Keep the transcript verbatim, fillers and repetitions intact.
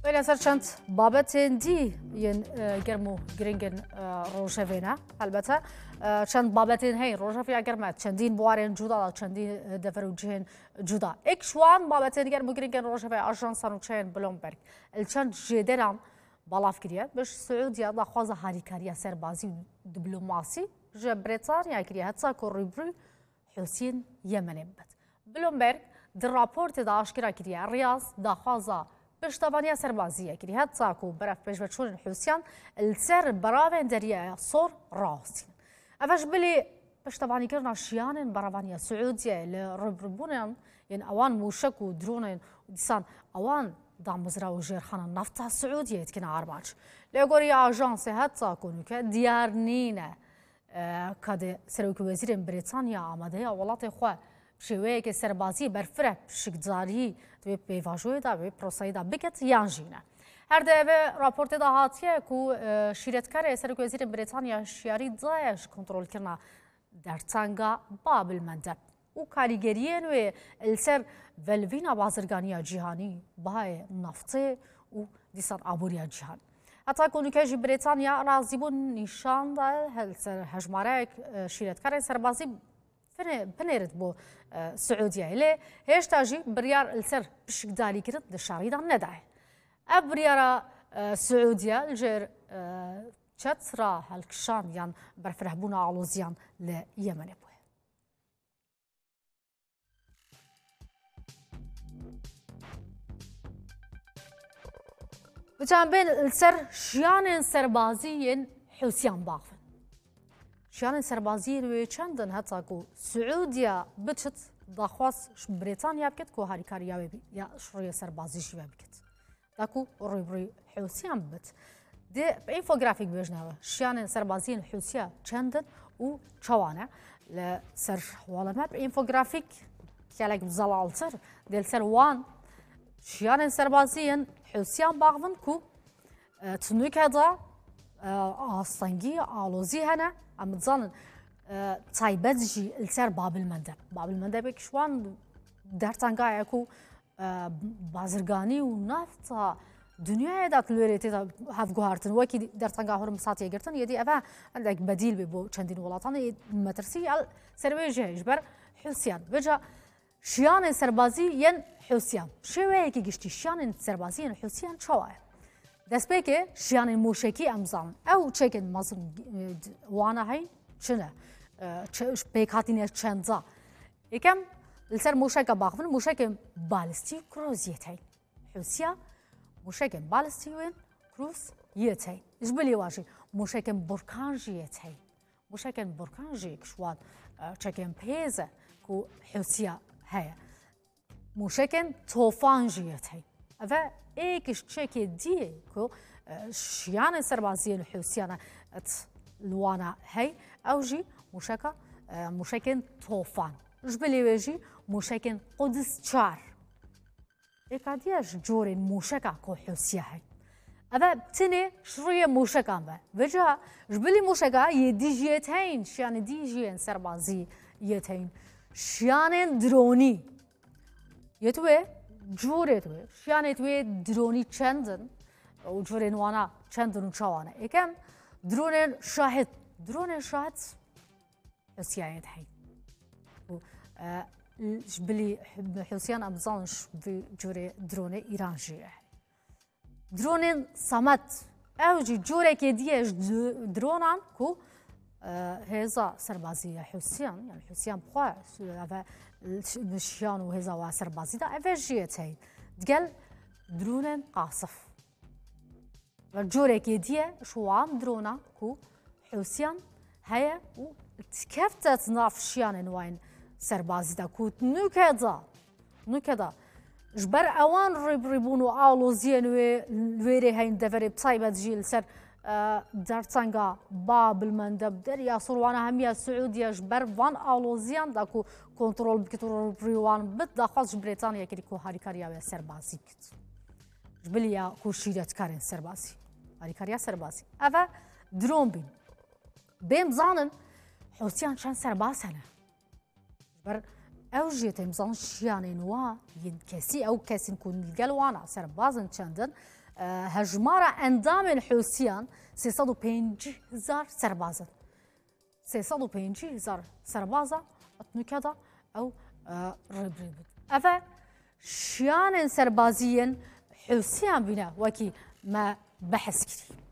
Wêne ser çend babetên dî yên, e, germ û giringên, e, rojevê ne. Helbete, e, çend babetên heyî rojevê ya germ e, çendîn buwarên cuda, çendîn, e, dever û cihên cuda. Êk ji wan babetên germ û giringên rojevê ajansa nûçeyên Bloomberg li çend jêderan balav kiriye. Bi Siûdiya daxwaza harîkariya serbazî û diplomasî ji Brîtanya kiriye, heta ku rûbirû Hûsiyên Yemenê bibit. Bloomberg di raportê de aşkera kiriye, Riyaz daxwaza piştevaniya serbazî ye kiriye, heta ku berevpêşveçûnên Hûsiyan li ser beravên Deryaya Sor rawestînin. Ev e ji bilî piştevanîkirina şiyanên berevaniya Siûdiyeyê li rûbirûbûnan yên ewan mûşek û dronên û dîsan ewan damezra û jêrxana nefta Siûdiyeyê dikine armanc. Lê gorî ajansê heta ku nûke diyar nîne. E, ka dê Serokê Wezîrên Brîtanya amade ya welatê xwe bi şêweyeke serbazî berfireh pişikdarî di wê pêvajoyê de, wê proseyê de biket yan jî ne. Her di vê raportê de hatiye ku, e, şîretkarê Serokê Wezîrên Brîtanya hişyarî daye ji kontrolkirina dertenga Bab el Mendeb û karîgeriyên wê li ser velivîna bazirganiya cîhanî, bihayê naftê û dîsan aboriya cîhanî. Heta ku nûke jî Brîtanya razîbûn nîşan da, he-, li ser hejmareyek, e, şîretkarên serbazî pine-, pinêrit bo, e, Siûdiyeyê. Lê hêşta jî biryar li ser pişikdarîkirin di şerî de nedaye. Ev biryara, e, Siûdiye li jêr, e, çet ra helkişand yan berfirehbûna aloziyan li Yemenê bûye. Biçan bên li ser şiyanên serbazî yên Hûsiyan baxivin. Şiyanên serbazî yên wê çend in heta ku Siûdiya biçit daxwaz ji Brîtanya bikit ku harîkariya wê bî, ya ji rûyê serbazî jî ve bikit. Da ku rûbirûyê Hûsiyan bibit. Dê bi infografîk bêjine we. Şiyanên serbaziyên Hûsiya çend in û çawa ne? Li ser hewala me bi infografîk gelek zelaltir. Dê li ser wan şiyanên serbaziyên Hûsiyan baxivin ku, e, tunûke de, e, astengî, alozî hene. Em dizanin, e, taybet jî li ser Babil Mendeb. Babil Mendebek ji wan dertengayê ku e, bazirganî û nafta dinyayê de li wêrê tê de hevguhartin. Wekî dertenga Hormuz hatiye girtin, yê dî ev e endek bedîl bê bo çendîn welatan. Ê metirsî el ser wê jî heye ji ber Hûsiyan. Vêca şiyanên serbazî yên Hûsiyan. Şêweyekî giştî şiyanên serbazî yên Hûsiyan çawa ye? Destpêkê şiyanên mûşekî em zanin. Ew çekên mezin, e, wana heyn çi ne? E, çi, pêkhatîne çenda? Yekem li ser mûşeka baxivin, mûşekên balistî û krûz yê tey. Hûsiya mûşekên balistî yên krûz yê tey. Ji bilî wan jî mûşekên burkan jî yê tey. Mûşekên burkan jî yek ji wan, e, çekên pêz e ku Hûsiya heye. Mûşekên tofan jî yê tey. Ev e êk ji çekê dî ye ku, e, şiyanên serbaziyên Hûsiyan e, et li wana hey, ew jî mûşeka, e, mûşekên tofan. Ji bilî wê jî mûşekên Qudis çar. Êka dî ye ji corên mûşeka ku Hûsiya hey. Ev e tinê ji rûyê mûşekan ve. Vêca ji bilî mûşeka yê dî jî yê teyn, şiyanê dî jî yên serbazî yê teyn. Şiyanên dronî. Yê tu wê, curê tu wê, şiyanê tu wê dronî çend in û curên wana çend in û çawa ne? Êkem dronên şahid, dronên şahid Hûsiyayê de hey. Û, e, ji bilî Hûsiyan em dizanin ji vî curê dronê Îran jî ye. Dronên Samet, ew jî corekê dî ye ji d-, dronan ku, e, hêza serbazî ya Hûsiyan, yani Hûsiyan bi xwe, ev e, şiyan û hêza wa serbazî de, ev e jî yê tey. Digel dronên Qasif. Ve corekê dî ye ji wan dronan ku Hûsiyan heye û dikefte di nav şiyanên wan serbazî de ku nûke de, nûke de ji ber ewan rûbirûbûn û aloziyên wê, wêrê heyîn deverê bi taybet jî li ser, e, dertenga Bab el Mendeb, Derya Sor, wana hemiya Siûdiye ji ber van aloziyan de ku kontrol bikit û rûbirûyê wan bit, daxwaz ji Brîtanyayê kirî ku harîkariya wê serbazî bikit. Ji bilî ya ku şîretkarên serbazî, harîkariya serbazî. Ev e dron bîn. Bêm zanin Hûsiyan çend serbaz hene. Ji ber ew jî têm zanin şiyanên wa yên kesî, ew kesên ku li gel wana serbazin çendin, e, hejmara endamên Hûsiyan sê sed û pêncî hezar serbaz in. Sê sed û pêncî hezar serbaza etnûke de ew, e, rêbirî bûn. Ev e şiyanên serbazî yên Hûsiyan bîne wekî me behs kirî.